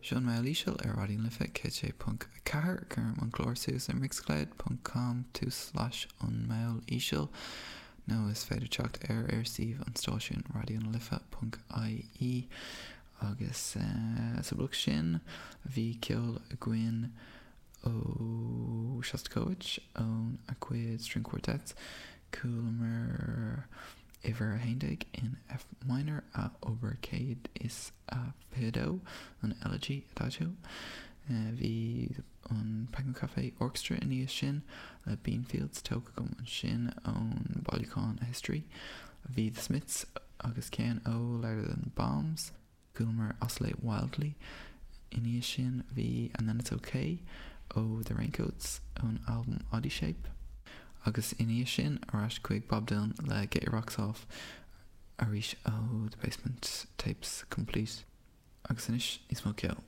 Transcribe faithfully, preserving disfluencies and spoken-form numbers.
Seo An Meall Íseal ar Raidió na Life céad sé ponc a ceathair. Cuirim an clár suas ar mixcloud ponc com tulslais an Meall Íseal nó is féidir teacht air ar suíomh an stáisiúin raidionalife ponc ie agus sa bhloc sin bhí ceol againn ó Shostakovich óna chuid string quartets chualamar uimhir a haon déag in F minor a obair céad is a fiche dó an Elegy Adagio. Bhí an Penguin Cafe Orchestra ina dhiaidh sin le Beanfields tógtha agam ansin ón bailiúchán A History. Bhí The Smiths agus ceann ó Louder Than Bombs. Chualamar Oscillate Wildly ina dhiaidh sin bhí And Then It's OK ó The Raincoats ón albam Oddyshape. Agus ina dhiaidh sin ar ais chuig Bob Dylan le Get Your Rocks Off arís ó The Basement Tapes Complete. Agus anois níos mó ceoil.